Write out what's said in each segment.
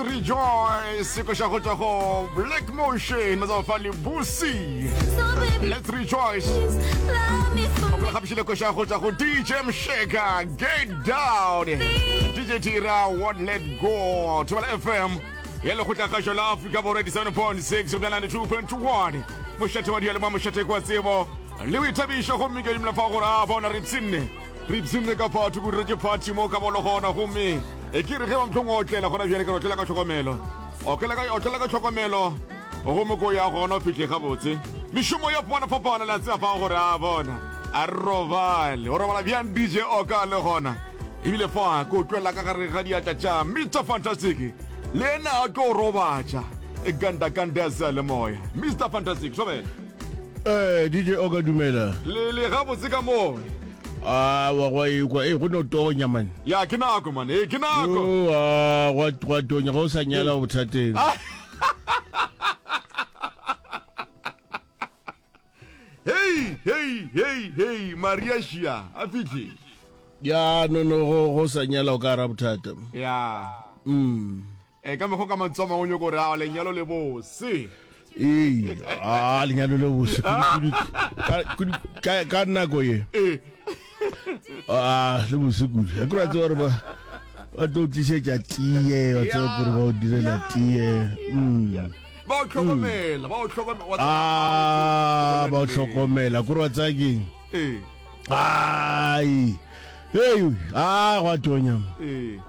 Rejoice koša go tšwa go Black Motion matsafa le Busi. Let's Rejoice. O gapišile koša go tšwa go DJ Msheka Get Down. DJ Tira Won't Let Go. Thobela FM ya lekgotlakgašo la Afrika Borwa 87.6 go 92.1. Mošate wa diyalemoya mošate kwa tsebo le boithabišo gomme ke dumela fa gore a bona re psinne Re ipshinne ka phathi, go diretše phathi mo ka bolo gona, gomme e ke re ge ba mhlong o otlela gona bjale, ke re otlela ka tlhokomelo. Otlela ka, otlela ka tlhokomelo, gomme ko ya gona o fihle gabotse. Mešomo ya fapana-fapana, le a tseba fao gore a bona, a re robale. O robala bjang DJ Oka le gona? Ebile fa ko tšwela ka gare ga diatla tša Mister Fantastic, le yena a tlo robatša. E ganda ganda ya le moya. Mister Fantastic, thobela. Eh, DJ Oka dumela. Le le gabotse ka mo. Ah, wa gwa ekwa. Eh, go no tonya man. Ya ke nako man. Eh, ke nako. Yo, ah, gwa gwa tonya go sa nyala o bothateng. Ah. Hey, hey, hey, hey, Maria Shia, a fihle. Ya, no no go go sa nyala o ka ra bothata. Ya. Mm. E ka mekgwa ka mantswe a mangwe o nyoko gore a lenyalo le bose. Ee, a lenyalo le bose kudu kudu ka ka nako ye. Ee. A le bose kudu. A kura tseba gore ba ba tlo tlišetša tee, wa tseba gore ba o direla tee. Mm. Ba o hlokomela, ba o hlokomela. Ah, ba o hlokomela. Kore wa tseba keng? Ee. Ai. Hey, ah, gwa tonya. Ee.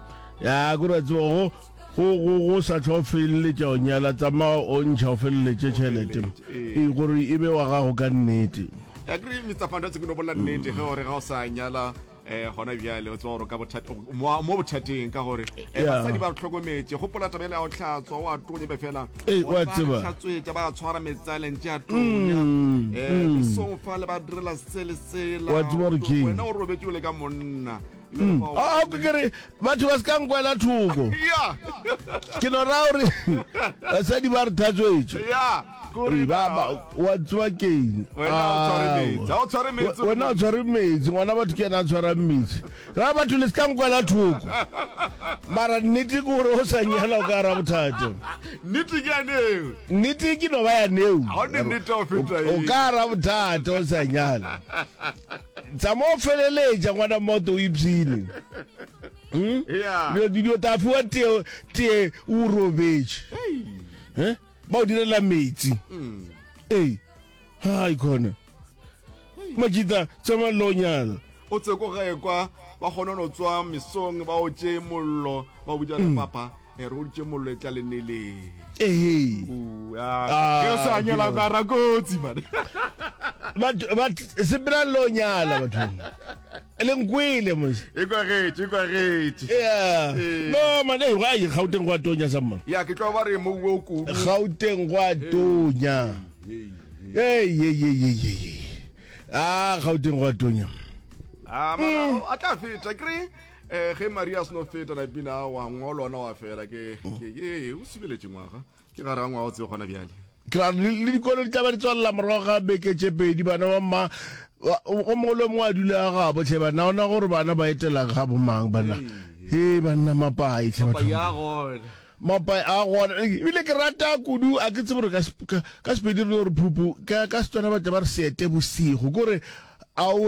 Ya, kore wa tseba go go go go sa tlho feleletša o nyala tsamaya o ntšha o feleletše tšhelete ee gore e be wa gago ka nnete ya kry mr fantastic no bolela nnete ge gore ga o sa nyala um gona bjale o tseba gore ka bothata mo bothateng ka gore eh, basadi ba re tlhokometše gopola taba ele ya go tlhatswa o a tonya be fela wa tseba tlhatswetša ba tshwara metsaleng tše a tonya um mesong fa le ba direla se le sela wa tseba gore ke wena o robetše o le ka monna Mm. A ke re batho ba se ka nkwela thoko. Ke no ra gore basadi ba re thatswetše. Ba wa tseba keng? Wena o tshware metsi, ngwana batho ke yena a tshwarang metsi. Ra batho le se ka nkwela thoko. Mara nnete ke gore o sa nyala o ka ra bothata. Nnete ke ya neo. Nnete ke no ba ya neo. O ka ra bothata o sa nyala. Tsamao o feleletša ngwana mmoto o ipshine. Hmm? Yeah. Dilo dilo ta fiwa tee tee o robetše. Eh? Ba o direla metsi. Mm. Ei. Hai khona. Majita tsamaya lo nyala. O tse ko gae kwa ba kgone no tswa mesong ba o tše mollo ba o bitša mm. papa e re o tše mollo e tla le neleng. Ee. Ah, ke sa nyala ka ra kotsi man. Batho ba sepela lo nyala batho. Le nkwele mos. E kwagetše, e kwagetše. Yeah. No man, eh ga e Gauteng gwa tonya sa mma. Ya ke tlo ba re mo o kudu. Gauteng gwa tonya. Hey, hey, hey, hey, hey. Ah, Gauteng gwa tonya. Ah, mara a tla feta kry eh ge Maria a seno feta na pina wa ngolo ona wa fela ke ke ee o subeletše ngwaga ke gare ga ngwaga o tsebe gona bjale Ke ra le le dikolo di tla ba di tswalela morago ga beke tše pedi bana ba mma o mongwe le mongwe a dule a gabo tlhe bana ona gore bana ba etela ga bomang bana he banna mapai tlhe batho mapai a gona ebile ke rata kudu a ke tsebe gore ka ka Sepedi re no re phupu ka ka Setswana ba tla ba re seete bosigo kore a o.